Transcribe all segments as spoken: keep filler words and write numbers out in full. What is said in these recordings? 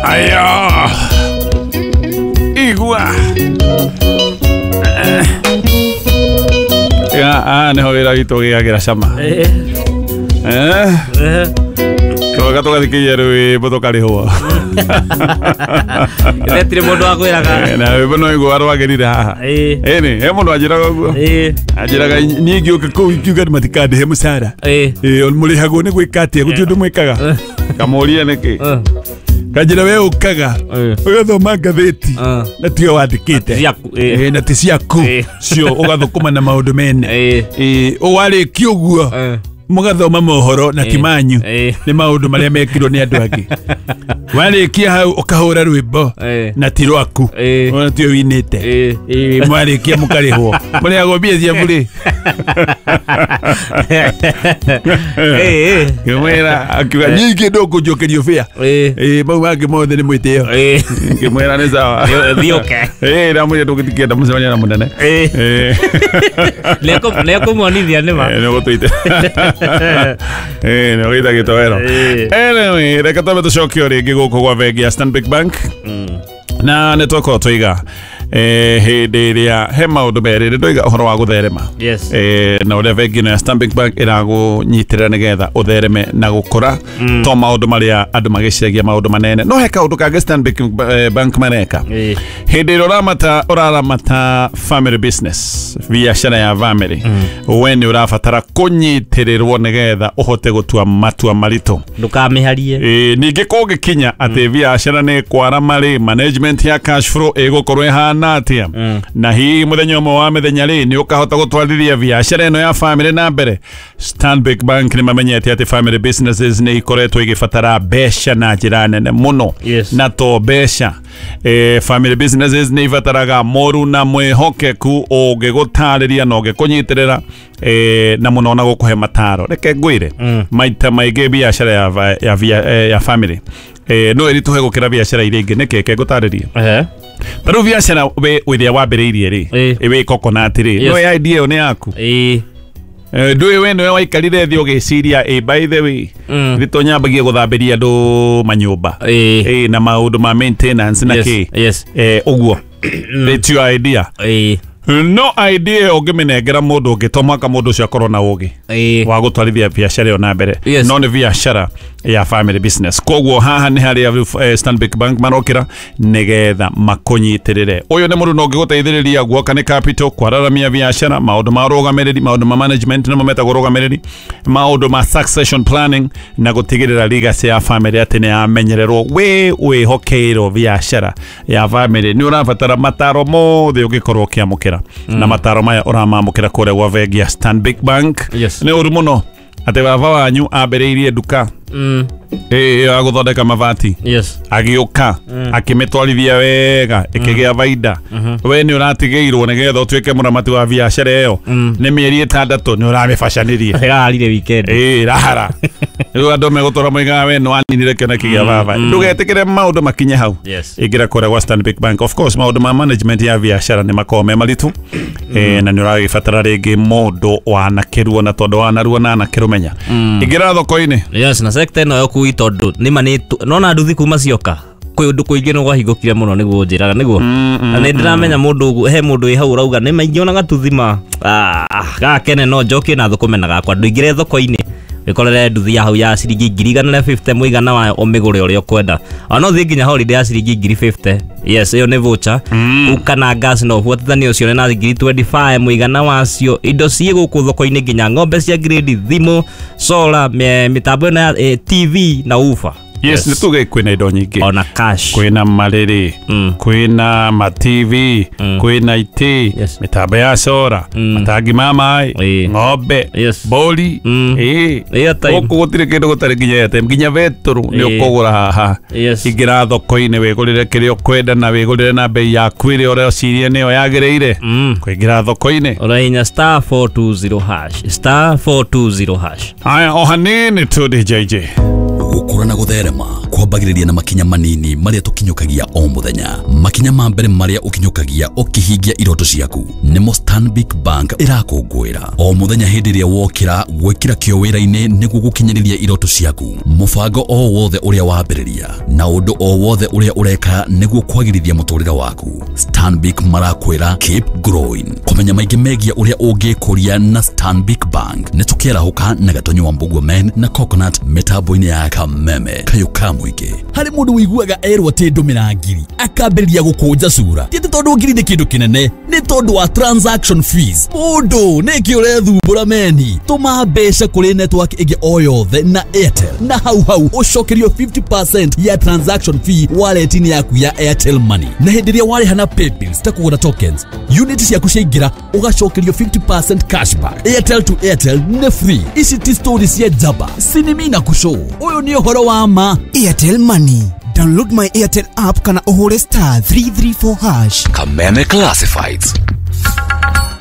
Aya. Igua. Ya, ah, niho wĩra witũ ũgĩagĩra cama. Eh. Eh. Eh. Tũgoka tũgathikĩria rwĩmbo tũkarĩhwo. Gĩthetire mũndũ akwĩraga. Eh, na rwĩmbo no igua rwagĩrire haha. Eh. Ĩni, he mũndũ anjĩraga ũguo. Eh. Anjĩraga niĩ ngĩũka kũu ingiuga andũ matikandĩhe mũcara. Eh. Ĩ, mũrĩhagwo nĩ gwĩka atĩa? Gũtirĩ ũndũ mwĩkaga. Kamũria nĩkĩ? Eh. Kanjĩra we ũkaga Eh. ũgathoma ngathĩti Eh. na tiwe wandĩkĩte. Ciaku. Eh. Ĩ, na ti ciaku Eh. cio ũgathũkũma na maũndũ mene. Eh. Ĩ, warĩkia ũguo Eh. mũgathoma mohoro na ti manyu Eh. nĩ maũndũ marĩa mekirwo nĩ andũ angĩ. Warĩkia hau ũkahũra rwĩmbo Eh. na ti rwaku Eh. ona tiwe winĩte. Eh. Ĩ, mwarĩkia mũkarĩhwo mũrĩhagwo mbia cia burĩ. Eh. Ngĩmwĩra akiuga nyingĩ ndũkũnjokerio bĩa. Eh. Ĩ, mau mangĩ mothe nĩ mwĩtĩo. Eh. Ngĩmwĩra nĩ sawa. Thiĩ ũke. Ĩ, ndamwĩra ndũgĩtikĩenda mũcemania na mũnene. Eh. Ĩ. Nĩekũmuonithia nĩma. Eh, nĩũgũtũite. Eh, nĩũgĩita gĩtoero. Eh. Anyway, reke twambe tũcoke o rĩngĩ gũkũ gwa bengi ya Stanbic Bank. Na nĩ twakorwo twaiga eh, hĩndĩ ĩrĩa he maũndũ merĩ nĩ ndoiga ũhoro wa gũtherema. Yes. Eh, na ũrĩa bengi ĩno ya Stanbic Bank ĩragũnyitĩrĩra nĩgetha ũthereme na gũkũra to maũndũ marĩa andũ magĩciragia maũndũ manene no he kaũndũ kangĩ Stanbic eh, Bank mareka Eh. hĩndĩ ĩrĩa ũramata ũraramata family business biacara ya family we nĩ ũrabatara kũnyitĩrĩrwo nĩgetha ũhote gũtua matua maritũ. Ndũkamĩharie. Ĩ, ningĩ kũngĩkinya atĩ biacara nĩ kwarama rĩ management ya cash flow ĩgũkorwo ĩhana atĩa na hihi mũthenya ũmwe wa mĩthenya rĩ nĩ ũkahota gũtwarithia biacara ĩno ya family na mbere. Stanbic Bank nĩ mamenyete atĩ family businesses nĩ ikoretwo igĩbatara mbeca na njĩra nene mũno. Yes. Na to mbeca eh, family businesses nĩ ibataraga moru na mwĩhokeku ũngĩgũtarĩria na ũngĩkũnyitĩrĩra eh, na mũno na gũkũhe mataro. Reke ngwĩre maita maingĩ biacara ya, va- ya, via- eh, ya family eh, no ĩritũhe gũkĩra biacara iria ingĩ. Nĩkĩ? Reke ngũtarĩrie. Eh. Ta rĩu biacara we ĩrĩa wambĩrĩirie rĩ Eh. wĩ coconut rĩ Yes. no idea ĩyo nĩ yaku. Eh. Eh, ndũĩ we nĩwe waikarire thĩ ũgĩciria ĩ by the way Mm. nĩ tũnyambagie gũthambĩria andũ manyũmba Eh. ĩ na maũndũ ma maintenance na Yes. kĩ Yes. eh, ũguo it's your idea. Eh. No idea ĩyo ũngĩmĩnengera mũndũ ũngĩ to mũhaka mũndũ ũcio akorwo na ũgĩ Eh. wa gũtwarithia biacara ĩyo na mbere. Yes. No nĩ biacara ya family business koguo haha nĩ harĩa eh, Stanbic Bank marokĩra nĩgetha makũnyitĩrĩre. Ũyũ nĩ mũndũ no ũngĩgũteithĩrĩria guoka nĩ capital kwararamia biacara maũndũ ma ũrũgamĩrĩri maũndũ ma management nĩmo metagwo ũrũgamĩrĩri maũndũ ma succession planning na gũtigĩrĩra legacy ya family atĩ nĩ yamenyererwo. Wĩ wĩhokeirwo biacara ya family nĩ ũrabatara mataro mothe ũngĩkorwo ũkĩamũkĩra na mataro maya ũramamũkĩra kũrĩa gwa bengi ya Stanbic Bank. Yes. Nĩ ũru mũno atĩ baba wanyu ambĩrĩirie nduka Mm. ĩ ya gũthondeka mabati Yes. agĩũka akĩmĩtwarithia wega ĩkĩgĩa baida we nĩ ũratigĩirwo nĩgetha ũtuĩke mũramati wa biacara ĩyo nĩ mĩeri ĩtandatũ nĩ ũramĩbacanĩria. Ĩrarire weekend. Ĩ rahara rĩu andũ megũtũra moigaga we nĩ waninire kĩoneki gĩa baba. Ndũgetĩkĩre maũndũ makinye hau. Yes. Ingĩra kũrĩa gwa Stanbic Bank. Of course maũndũ ma management ya biacara nĩ makoragwo me maritũ eh, na nĩ ũragĩbatara rĩngĩ mũndũ wanakĩruo na tondũ wanaruo na anakĩrũmenya. Ingĩra thoko-inĩ. Yes, na sector ĩno ya ũkui tondũ nĩma nĩ nona nduthi kuma cioka kwĩ ũndũ kũingĩ nĩ gwahingũkire mũno nĩguo njĩraga nĩguo na nĩ ndĩramenya mũndũ ũguo he mũndũ wĩ hau ũrauga nĩma ingĩona gatuthi ma gakene no njokie na thũkũme na gakwa ndũingĩre thoko-inĩ wĩkorere nduthi ya hau ya ciringi ngiri igana rĩa fifty mũigana wayo ũmĩgũre ũrĩa ũkwenda ona no ũthiĩ nginya holiday ya ciringi ngiri fifty. Yes, ĩyo nĩ voucher uka na gas no ũbuatithanie ũcione na ngiri twenty five mũigana wacio indo ciĩ gũkũ thoko-inĩ nginya ng'ombe cia grade thimũ solar mĩtambo ĩno ya eh, T V na ufa. Yes, nĩ tuge kwĩna indo nyingĩ ona cash kwĩna marĩrĩ Mm. kwĩna ma T V kwĩna itĩ Yes. mĩtambo ya cora matangi ma maĩ Ĩĩ. ng'ombe Yes. mbũri Mm. ĩĩ Airtime. gũkũ gũtirĩ kĩndũ gũtarĩ nginya airtime nginya betũrũ nĩ Ĩĩ. ũkũgũra haha. Yes. Ingĩra thoko-inĩ wĩgũrĩre kĩrĩa ũkwenda na wĩgũrĩre na bei yaku ĩrĩa ũreciria nĩyo yagĩrĩire. Mm. Kũingĩra thoko-inĩ Ũrahihinya star four two zero hash star four two zero hash. Haya o hanini tu D J J Gũkũra na gũtherema kwambagĩrĩria na makinya manini marĩa tũkĩ ũkinyũkagia o mũthenya. Makinya ma mbere marĩa ũkinyũkagia ũkĩhingia iroto ciaku nĩmo Stanbic Bank ĩrakũngũĩra. O mũthenya hĩndĩ ĩrĩa wokĩra gwĩkĩra kĩo wĩra-inĩ nĩguo gũkinyanĩria iroto ciaku, mũbango o wothe ũrĩa wambĩrĩria na ũndũ o wothe ũrĩa ũreka nĩguo kwagĩrithia mũtũrĩre waku, Stanbic marakwĩra keep growing. Kũmenya maingĩ megiĩ ũrĩa ũngĩkũria na Stanbic Bank nĩ tũkĩarahũka na Gatonyo wa Mbugua Men na Coconut mĩtambo-inĩ ya Kameme kayũ ka mũingĩ. Harĩ mũndũ ũiguaga erwo atĩ ndũmĩra ngiri akambĩrĩria gũkũnja cura, ti atĩ tondũ ngiri nĩ kĩndũ kĩnene, nĩ tondũ wa transaction fees. Mũndũ nĩkĩ ũrethumbũra meni? Tũma mbeca kũrĩ network ĩngĩ o yothe na Airtel na hau hau ũcokerio fifty percent ya transaction fee wallet-inĩ yaku ya Airtel Money. Na hĩndĩ ĩrĩa warĩha na paybills ta kũgũra tokens, unit ciaku ciaingĩra ũgacokerio fifty percent cashback. Airtel to Airtel nĩ free. Ici ti story cia njamba, sinimi na kushow. Ũyũ nĩ ũhoro wa ma. Airtel Money. Download my Airtel app kana ũhũre star three three four hash. Kameme Classifieds.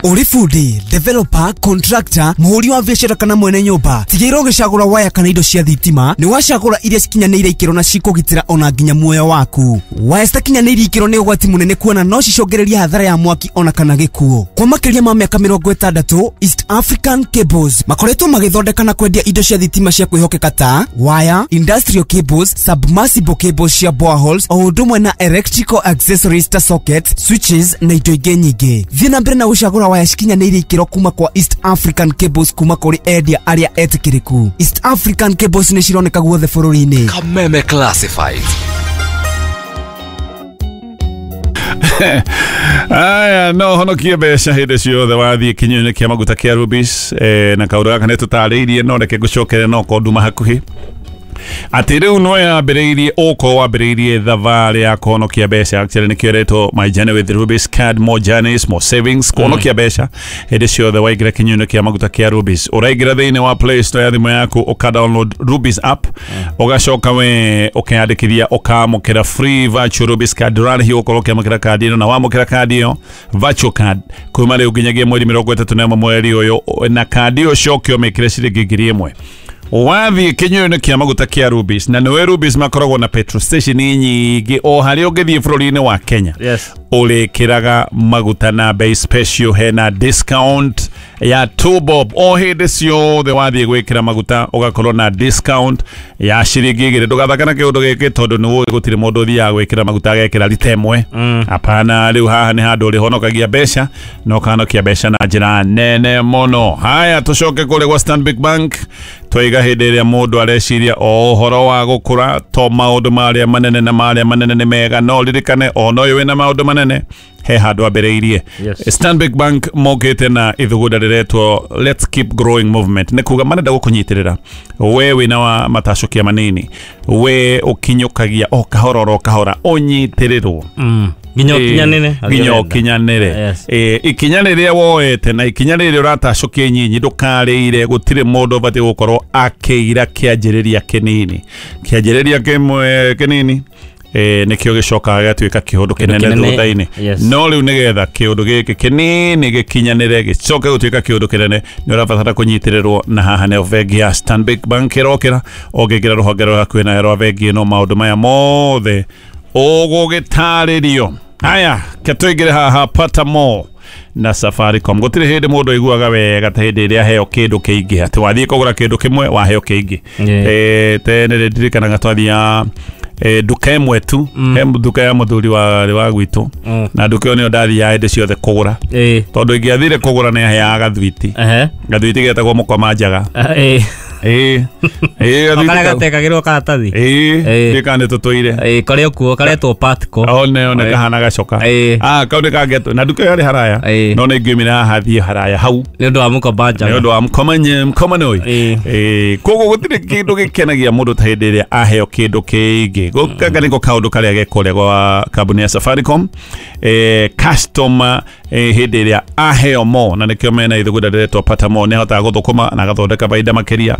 Ũrĩ bundi, developer, contractor, mũhũri wa biacara kana mwene nyũmba, tigĩrĩra ũgĩcagũra waya kana indo cia thitima nĩ wacagũra iria cikinyanĩire ikĩro na cikũgitĩra ona nginya muoyo waku. Waya citakinyanĩirie ikĩro nĩ ũgwati mũnene kuona no cicũngĩrĩrie hathara ya mwaki ona kana gĩkuũ. Kwa makĩria ma mĩaka mĩrongo ĩtandatũ, East African Cables makoretwo magĩthondeka na kwendia indo cia thitima cia kwĩhokeka ta waya, industrial cables, submersible cables cia boreholes, o ũndũ ũmwe na electrical accessories ta sockets, switches na indo ingĩ nyingĩ. Thiĩ na mbere na gũcagũra waya cikinyanĩirie ikĩro kuma kwa East African Cables kuma kũrĩ endia arĩa etĩkĩrĩku. East African Cables nĩ cironeka guothe bũrũri-inĩ. Kameme Classifieds. Aya, no honokie mbeca hĩndĩ ciothe wathiĩ kinyũinĩ kĩa maguta kĩa Rubis, eh, na kaũndũ gaka nĩ tũtarĩirie no reke ngũcokere no korwo nduma hakuhĩ atĩ rĩu no yambĩrĩirie ũkorwo wambĩrĩirie thabarĩ ya kũhonokia mbeca. Actually nĩkĩo ĩretwo My Journey with Rubis Card, more journeys, more savings. Kũhonokia mbeca hĩndĩ ciothe waingĩra kinyũinĩ kĩa maguta kĩa Rubis, ũraingĩra thĩinĩ wa Play Store ya thimũ yaku ũka download Rubis app, ũgacoka we ũkeyandĩkithia ũkamũkĩra free virtual Rubis card. Ndũrarĩhio ũkorwo ũkĩamũkĩra kandi ĩno, na wamũkĩra kandi ĩyo virtual card kuma rĩu nginyagia mweri mĩrongo ĩtatũ na ĩmwe mweri ũyũ, na kandi ĩyo ũcoke ũmĩkĩre ciringi ngiri ĩmwe. Wathiĩ kinyũinĩ kĩa maguta kĩa Rubis, na nĩwe Rubis makoragwo na petrol station nyingĩ o harĩa ũngĩthiĩ bũrũri-inĩ wa Kenya. Yes. Ũrĩkĩraga maguta na bei special, hena discount ya two bob o hĩndĩ ciothe wathiĩ gwĩkĩra maguta ũgakorwo na discount ya ciringi igĩrĩ. Ndũgathaka na kĩũndũ gĩkĩ tondũ nĩ ũĩ gũtirĩ mũndũ ũthiaga gwĩkĩra maguta agekĩra rita ĩmwe. Hapana, rĩu haha nĩ handũ ũrĩhonokagia mbeca na ũkahonokia mbeca na njĩra nene mũno. Haya, tũcoke kũrĩa gwa Stanbic Bank. Twaiga hĩndĩ ĩrĩa mũndũ areciria o ũhoro wa gũkũra to maũndũ marĩa manene na marĩa manene nĩ mega, no ririkane ona ũyũ wĩna maũndũ manene he handũ ambĩrĩirie. Yes. Stanbic Bank mokĩte na ithugunda rĩretwo Let's Keep Growing Movement, nĩ kuga marenda gũkũnyitĩrĩra we wĩna wa matacũkia manini, we ũkinyũkagia o kahora oro kahora ũnyitĩrĩrwo Mm. Nginya ũkinyanĩre. nginya ũkinyanĩre. Yes. Eh, ikinya rĩrĩa woete na ikinya rĩrĩa ũratacũkia nyinyi ndũkarĩire. Gũtirĩ mũndũ ũbatiĩ gũkorwo akĩira kĩanjĩrĩria kĩnini. Kĩanjĩrĩria kĩmwe kĩnini eh, nĩkĩo gĩcokaga gĩgatuĩka kĩũndũ kĩnene kĩnene, thutha-inĩ. yes. No rĩu nĩgetha kĩũndũ gĩkĩ kĩnini gĩkinyanĩre gĩcoke gũtuĩka kĩũndũ kĩnene nĩ ũrabatara kũnyitĩrĩrwo, na haha nĩho bengi ya Stanbic Bank ĩrokĩra. Ũngĩingĩra rũhonge rwa hakuhĩ nawe rwa bengi ĩno maũndũ maya mothe ũgũgĩtarĩrio. Haya, ke tũingĩre haha pata more na Safaricom. Gũtirĩ hĩndĩ mũndũ aiguaga wega ta hĩndĩ ĩrĩa aheo kĩndũ kĩingĩ, atĩ wathiĩ kũgũra kĩndũ kĩmwe waheo kĩingĩ. Yeah. Eh, tene nĩ ndirikanaga twathiaga eh, nduka ĩmwe tu, he nduka ya mũthuri wa wa gwitũ, Mm. na nduka ĩyo nĩyo ndathiaga hĩndĩ ciothe kũgũra, Ĩĩ. tondũ ingĩathire kũgũra nĩ aheaga gathwiti. Ehe. Gathwiti getagwo mũkoma njaga. Ĩĩ. Ĩĩ ĩĩ gathwiti Karĩa kau. gatekagĩrwo karatathi. Ĩĩ Ĩĩ. ndiũĩ kana nĩ tũtũire. Ĩĩ, karĩa kuo karetwo Patco. One one Ĩĩ. kahana gacoka. Ĩĩ. Ah, kau nĩ kangetwo na nduka ĩyo yarĩ haraya, Ĩĩ. no nĩ ingiumire haha thiĩ haraya hau Nĩ ũndũ wa mũkomba nĩ njaga. ũndũ wa mkomanye mkomanoi. Ĩĩ. Ĩĩ, koguo gũtirĩ kĩndũ gĩkenagia mũndũ ta hĩndĩ ĩrĩa aheo kĩndũ kĩingĩ. Gũkanga nĩko kaũndũ karĩa gekũrĩa gwa kambuni ya Safaricom, eh, customer eh, hĩndĩ ĩrĩa aheo mo, na nĩkĩo mena ithugunda rĩretwo pata mo, nĩ ahotaga gũthũkũma na agathondeka baida makĩria,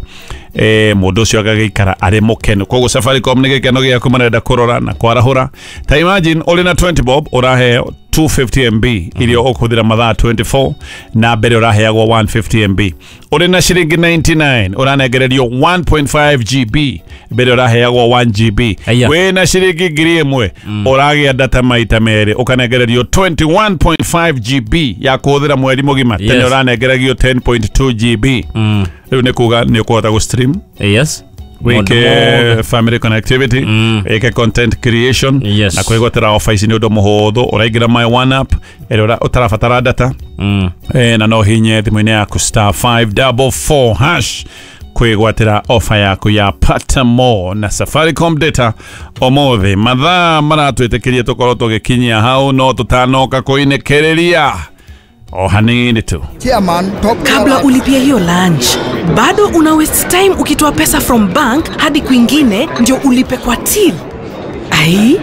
eh, mũndũ ũcio agagĩikara arĩ mũkenu. Koguo Safaricom nĩ gĩkeno gĩaku marenda kũrora na kwarahũra. Ta imagine ũrĩ na twenty bob ũraheo two fifty M B iria ũkũhũthĩra mathaa twenty-four na mbere ũraheagwo one fifty M B. Ũrĩ na ciringi ninety-nine ũranengererio one point five G B mbere ũraheagwo one G B. Wĩna ciringi ngiri ĩmwe ũragĩa data maita merĩ ũkanengererio twenty-one point five G B ya kũhũthĩra mweri mũgima. Tene ũranengeragio ten point two G B. Rĩu nĩ kuga nĩ ũkũhota gũ-stream. Yes. Wike family connectivity, mm. Wike content creation, yes. Na kwĩgwatĩra offer ici nĩ ũndũ mũhũthũ, ũraingĩra my one app ĩrĩa ũtarabatara data, mm. E, na no hinye thimũ-inĩ yaku star five double four hash kwĩgwatĩra offer yaku ya Pata More na Safaricom data ũmũthĩ. Mathaa maratwĩtĩkĩria tũkorwo tũgĩkinyia hau, no tũtanoka kũinĩkĩrĩria o hanini tu. Kabla ulipie hiyo lunch, bado una waste time ukitoa pesa from bank hadi kwingine ndio ulipe kwa till. Ai,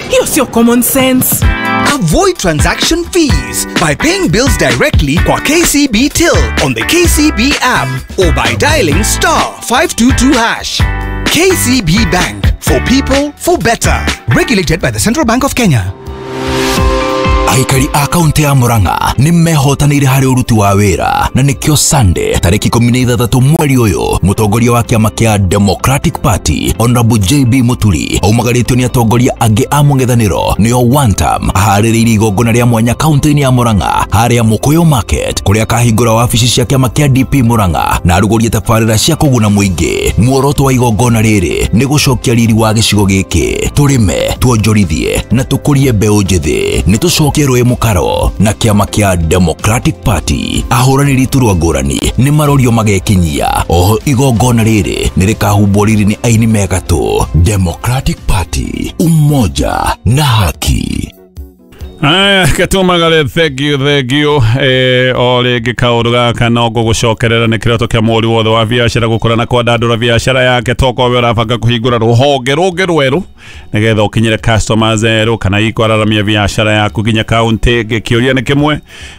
hiyo sio common sense. Avoid transaction fees by paying bills directly kwa K C B Till on the K C B app or by dialing star five two two hash. K C B Bank, for people, for better. Regulated by the Central Bank of Kenya. Aikari a kaunti ya Murang'a nĩ mehotanĩire harĩ ũruti wa wĩra na nĩkĩo Sunday tarĩki ikũmi na ithathatũ mweri ũyũ mũtongoria wa kĩama kĩa Democratic Party Honorable J B Muturi aumagarĩtio nĩ atongoria angĩ a mũng'ethanĩro nĩo one term aharĩrĩirie igongona rĩa mwanya kaunti-inĩ ya Murang'a harĩa Mũkũyũ Market kũrĩa akahingũra wabici cia kĩama kĩa D P Murang'a na arugũrie tabarĩra cia kũguna mũingĩ. Muoroto wa igongona rĩrĩ nĩ gũcokia riri wa gĩcigo gĩkĩ, tũrĩme, tuonjorithie na tũkũrie mbeũ njĩthĩ. Nĩ tũcokie rũĩ mũkaro na kĩama kĩa Democratic Party. Ahũranĩri iturwa ngũrani nĩ marorio magekinyia. Oho igongona rĩrĩ nĩ rĩkahumbwo riri nĩ aini megatũ. Democratic Party, umoja na haki. Aya, katumagare, thank you, thank you. Eh, o rĩngĩ kaũndũ gaka no ngũgũcokerera nĩ kĩroto kĩa mũri wothe wa biacara gũkũra na kwandandũra biacara yake tokorwo we ũrabanga kũhingũra rũhonge rũngĩ rwerũ nĩgetha ũkinyĩre customers erũ kana ikwararamia biacara yaku nginya kaunti ĩngĩ. Kĩũria nĩ kĩmwe,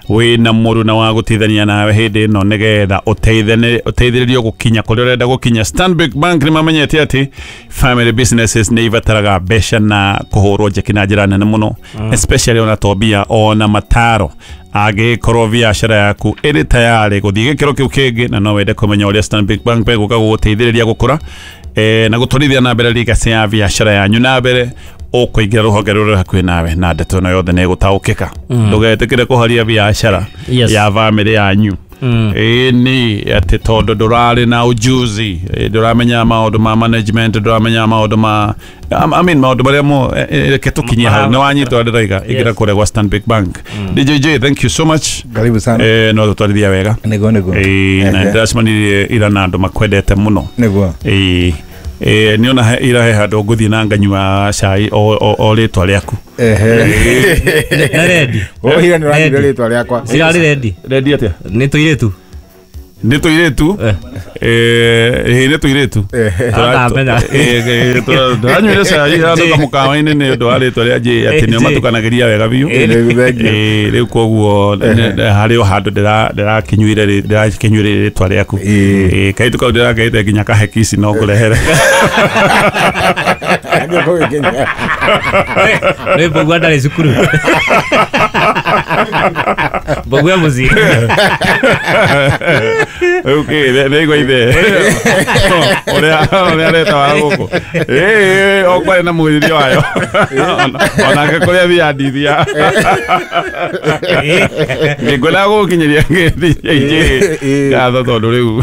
wĩna mũruna wa gũteithania nawe hĩndĩ ĩno nĩgetha ũteithĩrĩrio gũkinya kũrĩa ũrenda gũkinya. Stanbic Bank nĩ mamenyete atĩ family businesses nĩ ibataraga mbeca na kũhũrwo njeki na njĩra nene mũno, especially ona tobia ona mataro angĩkorwo biacara yaku ĩrĩ tayarĩ gũthiĩ gĩkĩro kĩu kĩngĩ na no wende kũmenya ũrĩa Stanbic Bank begũka gũgũteithĩrĩria gũkũra eh, na gũtwarithia na mbere legacy ya biacara yanyu na mbere ũkũingĩra rũhonge rũrĩa hakuhĩ nawe na ndeto ĩno yothe nĩ ĩgũtaũkĩka. Ndũgetĩkĩre kũharia biacara ya bamĩrĩ yanyu ĩĩ nĩ atĩ tondũ ndũrarĩ na ujuzi, ndũramenya maũndũ ma management, ndũramenya maũndũ ma I mean maũndũ marĩa mo reke tũkinyie hau nĩ wanyitwo ndĩraiga ingĩra kũrĩa gwa Stanbic Bank. D J J, thank you so much. Karibu sana. Eh, no tũtwarithia wega. Nĩguo nĩguo. Eh, na ndĩracemanirie ira na andũ makwendete mũno. Nĩguo. Eh, eh niona ira he handũ ngũthiĩ na nganyua cai o o rĩtwa rĩaku. Ehe. Na ready. O ira nĩ ũranyuire rĩtwa rĩakwa. Cirarĩ ready. Ready atĩa? Nĩ tũirĩtu. Nĩ tũirĩtu? Eh, nĩ tũirĩtu. Tũranyuire cai handũ kamũkawa-inĩ nĩ ũndũ wa rĩtwa rĩa J atĩ nĩo matukanagĩria wega biũ. Eh, rĩu koguo harĩ o handũ ndĩrakĩnyuire ndĩrakĩnyuire rĩtwa rĩaku. Eh, kaitũ kau ndĩrakaite nginya kahekici no ngũrehere. Nĩ mbũgua ndarĩ cukuru. Mbũgua mũciĩ. Okay, nĩigua ithe ũrĩa ũrĩa areta wa gũkũ. Ĩĩ, o kwarĩ na mwĩrĩria wayo. Onake kũrĩa thiaga ndithia. Ngĩkwenda gũgũkinyĩria ngĩthiĩ ngatho tondũ rĩu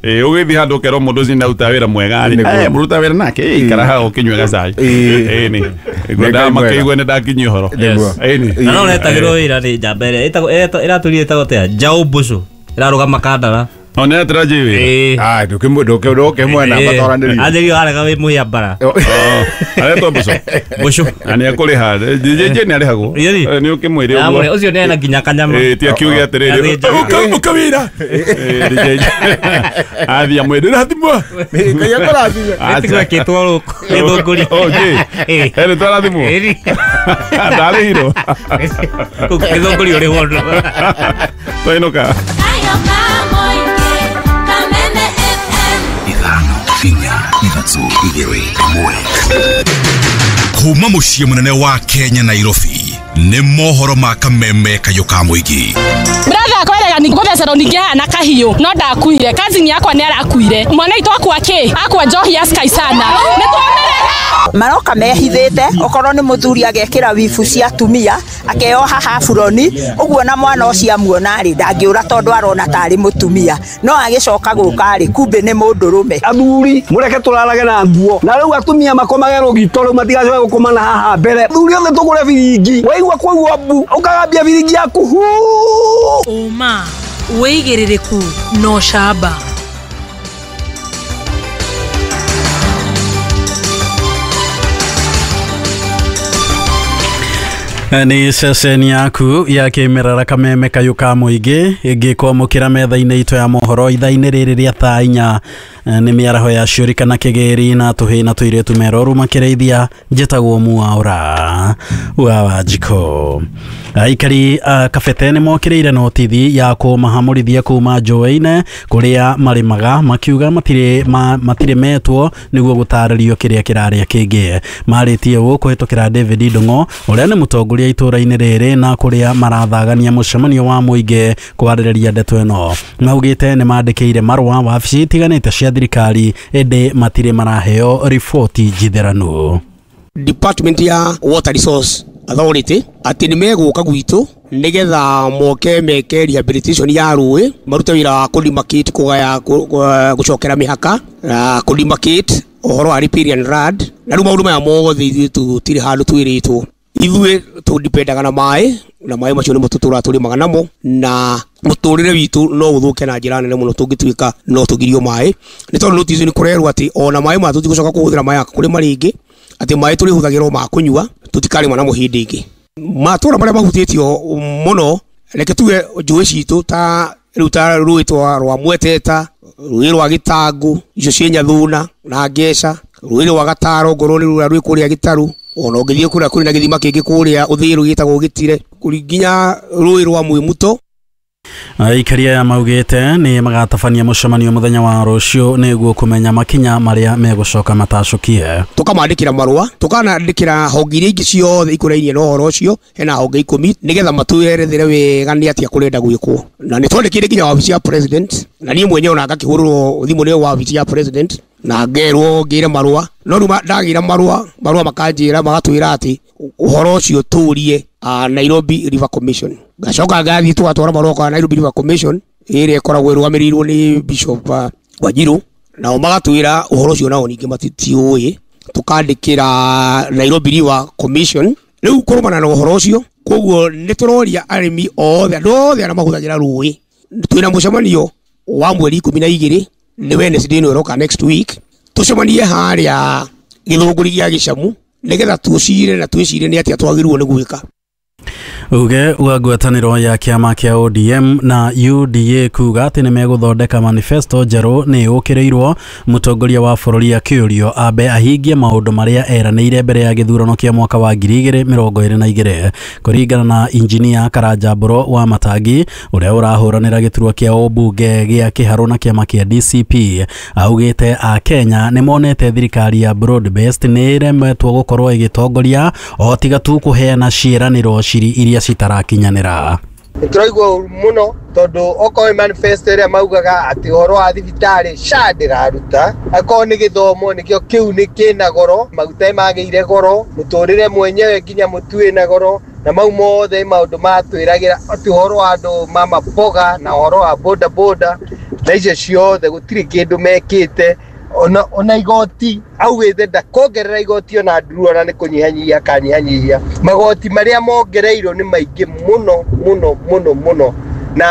ĩĩ ũgĩthiĩ handũ ũkerwo mũndũ ũcio nĩaruta wĩra mwega rĩ, eh, mũruta wĩra nake ikara hau ũkĩnyue gacai. Ĩĩ nĩ ngwendaga makĩigue nĩ ndakinyia ũhoro. Ĩĩ nĩ na no netagĩrwo wĩra nĩ njamba ĩrĩa ĩtagwo ĩratũrire ĩtagwo atĩa, Njaũ Mbũcũ ĩrarũgama Kandara. No nĩ atĩra J wĩra. Ah, ndũkĩmwe ndũkĩmwe na matoranĩrio. Anjĩrio arega wĩ mũhĩa mbara. Aretwo Mbũcũ. Mbũcũ. Na nĩ ekũrĩha. J J nĩ arĩhagwo. Nĩ ũkĩmwĩre ũguo. Ũcio nĩ ena nginya kanyama. Ĩĩ ti akiuge atĩrĩrĩ ũka wĩra. Ĩĩ D J athiĩ amwĩre rathimwo. Ngai akũrathime. Ĩtigwĩkĩtwo rũkũ nĩ thũngũri. Oh J. Ĩĩ twarathimwo. Ndarĩhirwo. Nĩ thũngũri ũrĩhwo. Twainũka. Kuma muciĩ munene wa Kenya Nairobi, Nĩ mohoro ma kameme kayũ ka mũingĩ. Brother akwerega ni gũthecerwo ningĩ na kahiũ no ndakuire cousin yakwa nĩ arakuire mwana itũ akwa kĩ akwa njohi ya Sky sana nĩ twamerera maroka mehithĩte okorwo nĩ mũthuri agekĩra wibu cia atumia akeoha haburoni ũguo na mwana ũcio amuona rĩ ndangĩũra tondũ arona tarĩ mũtumia no agĩcoka gũka rĩ kumbe nĩ mũndũrũme. Athuri mũreke tũrarage na nguo na rĩu atumia makomage rũgito rĩu matigacoke gũkoma na haha mbere athuri othe tũgũre biringi waigua kwaigua mbu ũkagambia biringi yaku hu ũma wĩigĩrĩrĩku no camba. Nĩ ceceni yaku ya kĩmerera kameme kayũ ka mũingĩ ĩngĩkwamũkĩra metha-inĩ itũ ya mohoro ithaa-inĩ rĩrĩ rĩa thaa inya nĩ mĩaraho ya ciũri kana kĩgĩri na tũhĩ na tũirĩtu meroru makĩrĩithia njĩtagwo Mwaura wa Wanjikũ. Aikari a Kabete nĩ mokĩrĩire notithi ya kũmahamũrithia kuma njũĩ-inĩ kũrĩa marĩmaga makiuga matirĩ ma, matirĩ metwo nĩguo gũtarĩrio kĩrĩa kĩrarĩa kĩngĩ. Marĩtie ũũ kũhĩtũkĩra David Ndung'o ũrĩa nĩ mũtongoria itũũra-inĩ rĩrĩ na kũrĩa marathagania mũcemanio wa mũingĩ kwarĩrĩria ndeto ĩno. Maugĩte nĩ mandĩkĩire marũa wabici itiganĩte cia thirikari ĩndĩ matirĩ maraheo riboti njitheranu. Department ya Water Resource Authority atĩ nĩ megũka gwitũ nĩgetha moke meke rehabilitation ya rũĩ marute wĩra wa kũdemarcate kũgaya gũcokera mĩhaka na kũdemarcate ũhoro wa riparian land na rĩu maũndũ maya mothe ithuĩ tũtirĩ handũ twĩrĩtwo. Ithuĩ tũdipendaga na maĩ na maĩ macio nĩmo tũtũraga tũrĩmaga namo na mũtũrĩre witũ no ũthũke na njĩra nene mũno tũngĩtuĩka no tũgirio maĩ nĩ tondũ notice nĩ kũrerwo atĩ ona maĩ maya tũtigũcoka kũhũthĩra maĩ kũrĩma rĩngĩ atĩ maĩ tũrĩhũthagĩrwo ma kũnyua tũtikarĩma namo hĩndĩ ĩngĩ. Matũra marĩa mahutĩtio mũno reke tuge njũĩ citũ ta rĩu ta rũĩ rwa Mweteta, rũĩ rwa Gĩtangũ, icio ciĩ Nyathuna na Ngeca, rũĩ rwa Gataro ngorwo nĩ rũrĩa rwĩ kũrĩa Gĩtarũ, ona ũngĩthiĩ kũrĩa kũrĩ na gĩthima kĩngĩ kũrĩa Ũthĩrũ gĩtagwo Gĩtire, nginya rũĩ rwa Mwĩmuto. Aikari aya maugĩte nĩ magatabania mũcemanio mũthenya wa rũciũ nĩguo kũmenya makinya marĩa megũcoka matacũkie. Tũkamandĩkĩra marũa tũkanandĩkĩra honge iria ingĩ ciothe ikũrainie na ũhoro ũcio hena honge ikũmi nĩgetha matwerethere wega nĩ atĩa kũrenda gwĩkwo na nĩ twandĩkĩire nginya wabici ya president na niĩ mwenyewe ona ngakĩhũrĩrwo thimũ nĩ wabici ya president na ngerwo ngĩre marũa no rĩu ndagĩra marũa marũa makanjĩra magatwĩra atĩ ũhoro ũcio tũrie Nairobi River Commission. Ngacoka ngathiĩ tũgatwara marũa kwa Nairobi River Commission ĩrĩa ĩkoragwo ĩrũgamĩrĩirwo nĩ Bishop Wanjiru nao magatwĩra ũhoro ũcio nao ningĩ matitiũĩ tũkandĩkĩra Nairobi River Commission rĩu kũrũmana na ũhoro ũcio. Koguo nĩ tũroria arĩmi othe andũ othe arĩa mahũthagĩra rũĩ twĩna mũcemanio wa mweri ikũmi na igĩrĩ nĩ Wednesday ĩno ĩroka next week tũcemanie harĩa gĩthũngũri gĩa Gĩcamu nĩgetha tũcire na twĩcirie nĩ atĩa twagĩrĩirwo nĩ gwĩka. Uge wa ngwatanĩro ya kĩama kĩa O D M na U D A kuga atĩ nĩ megũthondeka manifesto njerũ nĩ yũkĩrĩirwo mũtongoria wa bũrũri akĩũrio ambe ahingie maũndũ marĩa eranĩire mbere ya gĩthurano kĩa mwaka wa ngiri igĩrĩ mĩrongo ĩrĩ na igĩrĩ kũringana na injinia Karanja Mbũro wa Matangi ũrĩa ũrahũranĩra gĩturwa kĩa ũmbunge gĩa Kĩharũ na kĩama kĩa D C P augĩte a Kenya nĩ monete thirikari ya broad based nĩ ĩremetwo gũkorwo ĩgĩtongoria o tiga tu kũheana ciĩranĩro ciri iria citarakinyanĩra. Nĩtũraigua ũru mũno tondũ okorwo manifesto ĩrĩa maugaga atĩ ũhoro wa thibitarĩ SHA ndĩraruta, akorwo nĩ gĩthomo nĩkĩo kĩu nĩ kĩna goro, maguta nĩmagĩire goro, mũtũrĩre mwenyewe nginya mũtu wĩna goro, na mau mothe maũndũ matwĩragĩra atĩ ũhoro wa andũ ma maboga na ũhoro wa boda boda na icio ciothe gũtirĩ kĩndũ mekĩte. Ona, ona igoti augĩte ndakongerera igoti ona nduru ona nĩ kũnyihanyihia akanyihanyihia magoti marĩa mongereirwo nĩ maingĩ mũno mũno mũno mũno na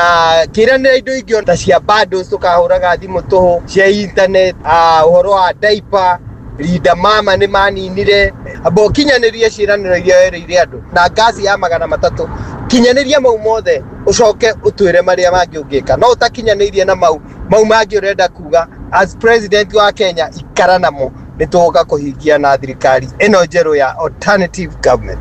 kĩranĩra indo ingĩ ta cia bundles tũkahũraga thimũ tũhũ cia internet, ũhoro wa diaper Linda Mama nĩ maninire amba ũkinyanĩrie ciĩranĩro iria werĩire andũ na ngasi ya magana matatũ kinyanĩria mau mothe ũcoke ũtwĩre marĩa mangĩ ũngĩka no ũtakinyanĩirie na mau mau mangĩ ũrenda kuga as president wa Kenya ikara namo nĩ tũgũka kũhingia na thirikari ĩno njerũ ya alternative government.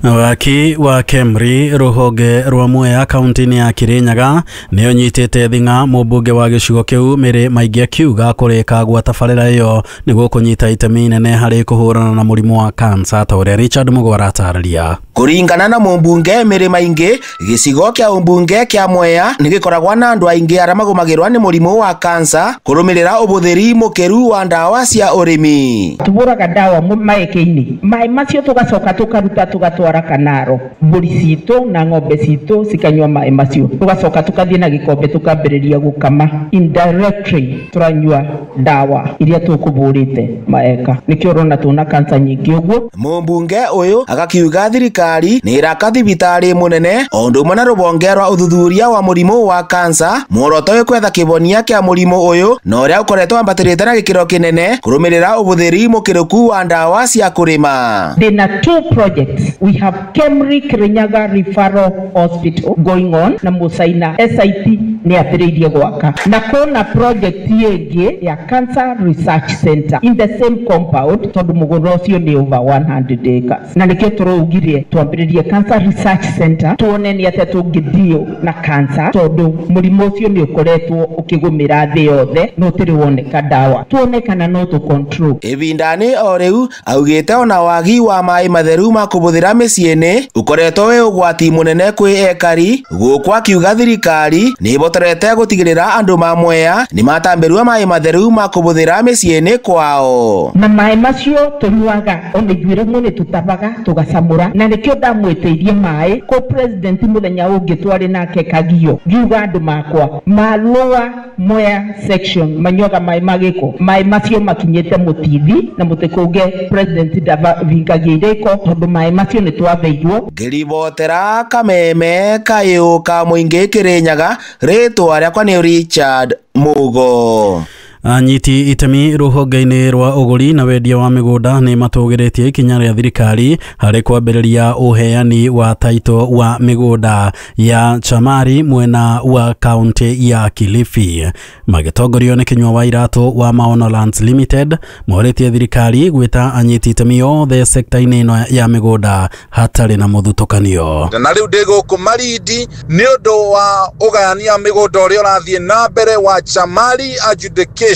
Waki wa Kemri ruhonge rwa Mwea kaunti-inĩ ya Kirinyaga nĩ ũnyitĩte thing'a mũmbunge wa gĩcigo kĩu Mary Maingi akiuga kũrĩka gwa tabarĩra ĩyo nĩguo kũnyita itemi inene harĩ kũhũrana na mũrimũ wa kansa ta ũrĩa Richard Mũgo aratarĩria. Kũringana na mũmbunge Mary Maingi, gĩcigo kĩa ũmbunge kĩa Mwea nĩ gĩkoragwo na andũ aingĩ arĩa magũmagĩrwo nĩ mũrimũ wa kansa kũrũmĩrĩra ũbũthĩri mũkĩru wa ndawa cia ũrĩmi. Tũbũraga ndawa maĩke-inĩ, maĩ macio tũgacoka tũkaruta tũgatwara kanaro, mbũri citũ na ng'ombe citũ cikanyua maĩ macio, tũgacoka tũkathiĩ na gĩkombe tũkambĩrĩria gũkama. Indirectly tũranyua ndawa iria tũkũbũrĩte maeka, nĩkĩo ũrona tũna kansa nyingĩ ũguo. Mũmbunge ũyũ agakiuga thirikari nĩ ĩraka thibitarĩ mũnene o ũndũ ũmwe na rũhonge rwa ũthuthuria wa mũrimũ wa kansa, muoroto wĩ kwetha kĩhonia kĩa mũrimũ ũyũ na ũrĩa ũkoretwo wambatĩrĩte na gĩkĩro kĩnene kũrũmĩrĩra ũbũthĩri mũkĩrũku wa ndawa cia kũrĩma. Ndĩna two projects. We have Kemri Kirinyaga Referral Hospital going on na Musaina S I P nĩ ambĩrĩirie gwaka, na kũna project ĩngĩ ya Cancer Research Center in the same compound tondũ mũgũnda ũcio nĩ over one hundred acres, na nĩkĩo tũraugire twambĩrĩrie Cancer Research Center tuone nĩ atĩa tũngĩdeal na cancer tondũ mũrimũ ũcio nĩ ũkoretwo ũkĩgũmĩra thĩ yothe no ũtĩrĩ woneka ndawa, tuone kana no tũ control. Ĩbindani o rĩu augĩte ona wagi wa maĩ matheru ma kũbũthĩra mĩciĩ-inĩ ũkoretwo wĩ ũgwati mũnene kwĩ ekari, gũkũ akiuga thirikari nĩ ĩbotorete gũtigĩrĩra andũ ma Mwea nĩ matambĩrwo maĩ matheru ma kũbũthĩra mĩciĩ-inĩ kwao. Na maĩ macio tũnyuaga ona ithuĩ rĩmwe nĩ tũtabaga tũgacamũra, na nĩkĩo ndamwĩtĩirie maĩ kũ president mũthenya ũngĩ twarĩ nake Kagio, ngiuga andũ makwa ma Lower Mwea section manyuaga maĩ ma gĩko, maĩ macio makinyĩte mũtithi na mũtikũnge president ndavingagia irĩko tondũ maĩ macio nĩ twatheirwo. Ngĩribotera Kameme kayũ ka mũingĩ Kirinyaga, rĩtwa rĩakwa nĩ Richard Mugo. Anyiti itemi rũhonge-inĩ rwa ũgũri na wendia wa mĩgũnda nĩ matũgĩrĩtie ikinya rĩa thirikari harĩ kwambĩrĩria ũheani wa taito wa mĩgũnda ya Chamari mwena wa kaunti ya Kilifi. Magĩtongorio nĩ Kinyua wa Iratũ wa Maono Lands Limited morĩtie thirikari gwĩta anyiti itemi othe sekta-inĩ ĩno ya mĩgũnda hatarĩ na mũthutũkanio. Na rĩu ndĩ gũkũ Marindi nĩ ũndũ wa ũgayania mĩgũnda ũrĩa ũrathiĩ na mbere wa Chamari adjudication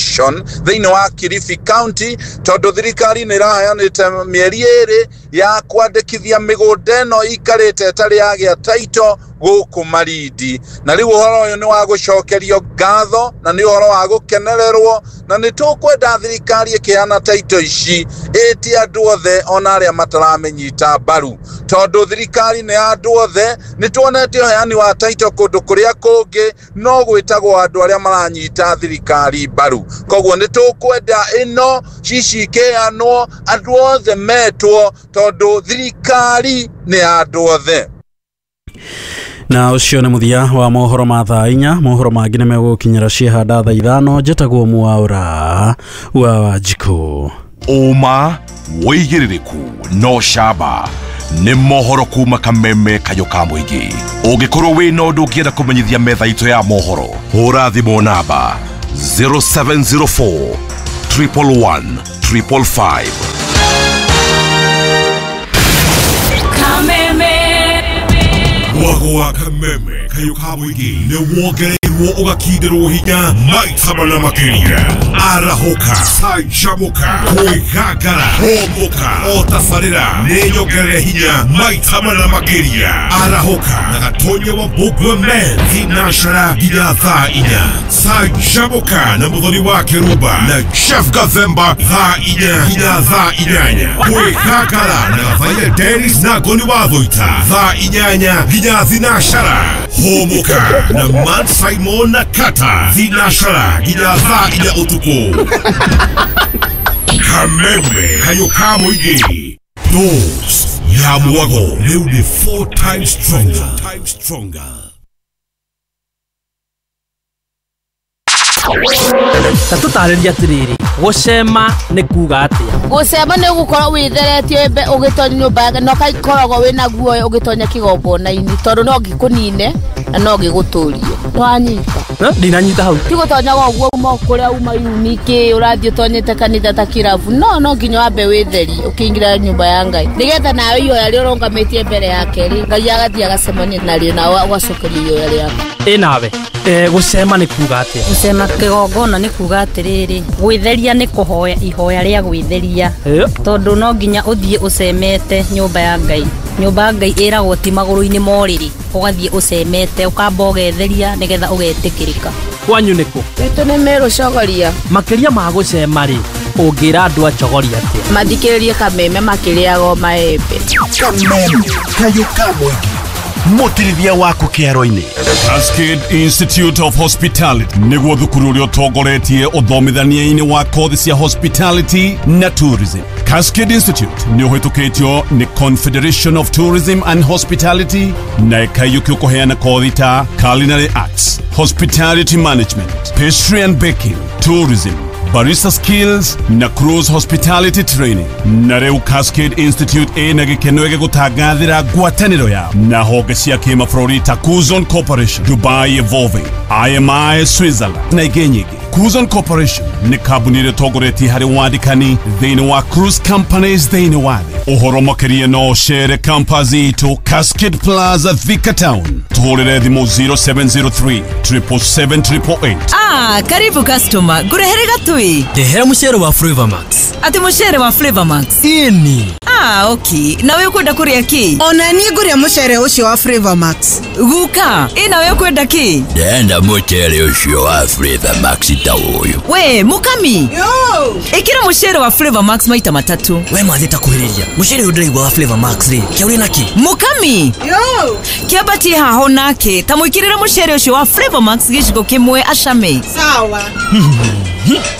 thĩinĩ wa Kilifi County, tondũ thirikari nĩ ĩraheanĩte mĩeri ĩrĩ ya kwandĩkithia mĩgũnda ĩno ikarĩte ĩtarĩ yagĩa taito gũkũ Marindi. Na rĩu ũhoro ũyũ nĩ wa gũcokerio ngatho na nĩ ũhoro wa gũkenererwo, na nĩ tũkwenda thirikari ĩkĩheana taito ici ĩtie andũ othe ona arĩa mataramĩnyita mbaru, tondũ thirikari nĩ ya andũ othe. Nĩ tuonete ũheani wa taito kũndũ kũrĩa kũngĩ no gwĩtagwo andũ arĩa maranyita thirikari mbaru, koguo nĩ tũkwenda ĩno cici ikĩheanwo andũ othe metwo, tondũ thirikari nĩ ya andũ othe. Na ũcio nĩ mũthia wa mohoro ma thaa inya. Mohoro mangĩ nĩ megũkinyĩra ciehanda thaa ithano. Njĩtagwo Mwaũra wa Wanjikũ. Ũma wĩigĩrĩrĩku no camba nĩ mohoro kuma Kameme kayũ ka mũingĩ. Ũngĩkorwo wĩna ũndũ ũngĩenda kũmenyithia metha itũ ya mohoro, hũra thimũ namba zero seven zero four triple one triple five. Mwago wa Kameme kayũ ka mũingĩ nĩ wongereirwo ũgakinderwo hinya maita mana makĩria. Arahũka, canjamũka, kwĩgangara, hũmũka, o tabarĩra nĩ nyongerere hinya maita mana makĩria. Arahũka na Gatonya wa Mbũgua Men thinacara nginya thaa inya. Canjamũka na Mũthoni wa Kĩrumba na Jeff Gathemba thaa inya nginya thaa inyanya. Kwĩgangara na Gathaia Dennis na Ngoni wa Thũita thaa inyanya nginya thinacara. Hũmũka na Man Simon na Kata thinacara nginya thaa inya ũtukũ. Kameme kayũ ka mũingĩ, dose ya mwago rĩu nĩ four times stronger. Stronger. Ta tũtarĩrie atĩrĩrĩ, gũcema nĩ kuga atĩa? Gũcema nĩ gũkorwo wĩtheretie ũgĩtonya nyũmba na ũgakoragwo wĩna guoya ũgĩtonya kĩgongona-inĩ, tondũ no gĩkũnine na no gĩgũtũrie. Nĩwanyita? Ndinanyita hau. Ti gũtonyaga ũguo uma kũrĩa uma yunike ũrathiĩ ũtonyete kanitha ta kĩrabu. No no nginya wambe wĩtherie ũkĩingĩra nyũmba ya Ngai. Nĩgetha nawe ihoya rĩrĩa ũrũgamĩtie mbere yake rĩ, Ngai agathiĩ agacemania narĩo nawe ũgacokeria ihoya rĩaku. Ĩ nawe eh gũcema nĩ kuga atĩa? Gũcema kĩgongona nĩ kuga atĩrĩrĩ, gwĩtheria nĩ kũhoya ihoya rĩa gwĩtheria, tondũ no nginya ũthiĩ ũcemete nyũmba ya Ngai. Nyũmba ya Ngai ĩragwo ti magũrũ-inĩ ma ũrĩrĩ, ũgathiĩ ũcemete ũkamba ũgetheria nĩgetha ũgetĩkĩrĩka. Kwanyu nĩkũ? Gwitũ nĩ Meru Chogoria. Makĩria ma gũcema rĩ, ũngĩra andũ a Chogoria atĩa? Mathikĩrĩrie Kameme makĩrĩaga maembe. Kameme kayũ ka mũingĩ, mũtirithia waku kĩaro-inĩ. Cascade Institute of Hospitality nĩguo thukuru ũrĩa ũtongoretie ũthomithania-inĩ wa kothi cia hospitality na tourism. Cascade Institute nĩ ũhĩtũkĩtio nĩ Confederation of Tourism and Hospitality na ĩkaiyũkio kũheana kothi ta culinary arts, hospitality management, pastry and baking, tourism, barista skills na cruise hospitality training. Na rĩu Cascade Institute ĩna gĩkeno gĩgũtangathĩra ngwatanĩro yao na honge cia kĩmabũrũri ta Kuzon Corporation, Dubai Evolving, I M I Switzerland na ingĩ nyingĩ. Kuzon Corporation nĩ kambuni ĩrĩa ĩtongoretie harĩ wandĩkani thĩinĩ wa cruise companies thĩinĩ wa thĩ. Ũhoro makĩria no ũcere campus itũ Cascade Plaza, Thika Town. Tũhũrĩre thimũ zero seven zero three, triple seven, triple eight. Ah, karibu customer. Ngũrehere gatui. Ndehera mũcere wa Flavor Max. Ati mũcere wa Flavor Max? Ĩni. Ah, okay. Nawe ũkwenda kũrĩa kĩ? Ona niĩ ngũrĩa mũcere ũcio wa Flavor Max. Guka, ĩ nawe ũkwenda kĩ? Ndenda mũcere ũcio wa Flavor Max ta ũyũ. We, mũkami. Yo. Ĩkĩra mũcere wa Flavor Max maita matatũ. We mathĩ ta kuhĩrĩria. Mũcere ũyũ ndĩraigua wa Flavor Max rĩ, kĩa ũrĩ nakĩ? Mũkami. Yo. Kĩambatie haho nake, ta mũĩkĩrĩre mũcere ũcio wa Flavor Max gĩciko kĩmwe acame. Sawa.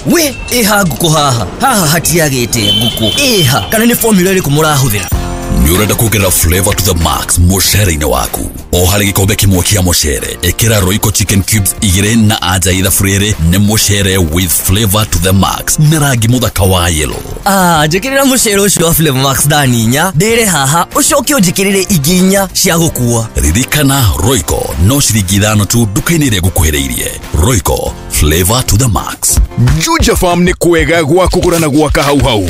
We, ĩha ngũkũ haha. Haha hatiagĩte ngũkũ. Ĩha, kana nĩ formula ĩrĩkũ mũrahũthĩra? Nĩ ũrenda kuongerera flavor to the max mũcere-inĩ waku? O harĩ gĩkombe kĩmwe kĩa mũcere, ĩkĩra Royco chicken cubes igĩrĩ na anja ithabu rĩrĩ nĩ mũcere with flavor to the max na rangi mũthaka wa yellow. Ah, njĩkĩrĩra mũcere ũcio wa Flavor Max thani inya, ndĩre haha, ũcoke ũnjĩkĩrĩre ingĩ inya cia gũkua. Ririkana Royco no ciringi ithano tu nduka-inĩ ĩrĩa ĩgũkuhĩrĩirie. Royco, flavor to the max. Juja Farm nĩ kwega gwa kũgũra na gwaka hau hau.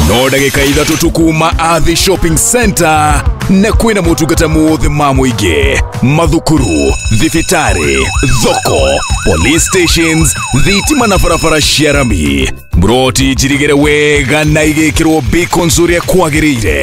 No ndagĩka ithatũ tu kuma Athi Shopping Center na kwĩna motungata mothe ma mũingĩ, mathukuru, thibitarĩ, thoko, police stations, thitima na barabara cia rami. Mburoti njirigĩre wega na igĩkĩrwo beacons ũrĩa kwagĩrĩire.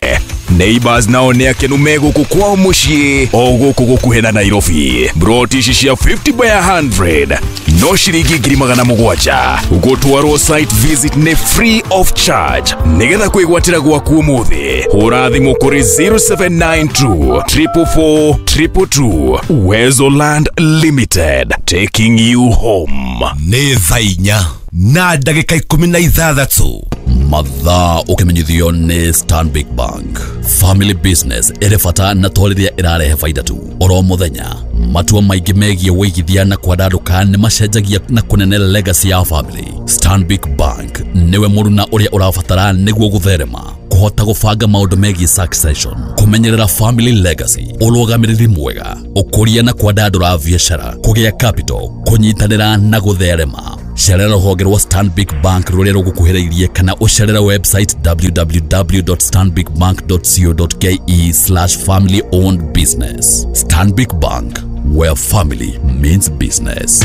Neighbors nao nĩ akenu me gũkũ kwao mũciĩ o gũkũ gũkuhĩ na Nairobi. Mburoti ici cia fifty by a hundred no ciringi ngiri magana mũgwanja. Gũtwarwo site visit nĩ free of charge. Nĩgetha kwĩgwatĩra gwaku ũmũthĩ, hũra thimũ kũrĩ zero seven nine two, triple four, triple two. Uwezo Land Limited, taking you home. Nĩ thaa inya na ndagĩka ikũmi na ithathatũ. Mathaa ũkĩmenyithio nĩ Stanbic Bank. Family business ĩrĩ bata na to rĩrĩa ĩrarehe baida tu. Oro mũthenya, matua maingĩ megiĩ wĩigithia na kwandandũka nĩ macenjagia na kũnene legacy ya family. Stanbic Bank nĩwe mũruna ũrĩa ũrabatara nĩguo gũtherema, kũhota gũbanga maũndũ megiĩ succession, kũmenyerera family legacy, ũrũgamĩrĩri mwega, ũkũria na kwandandũra biacara, kũgĩa capital, kũnyitanĩra na gũtherema. Cerera rũhonge rwa Stanbic Bank rũrĩa rũgũkuhĩrĩirie kana ũcerere website w w w dot stanbic bank dot co dot k e slash family owned business. Stanbic Bank, where family means business.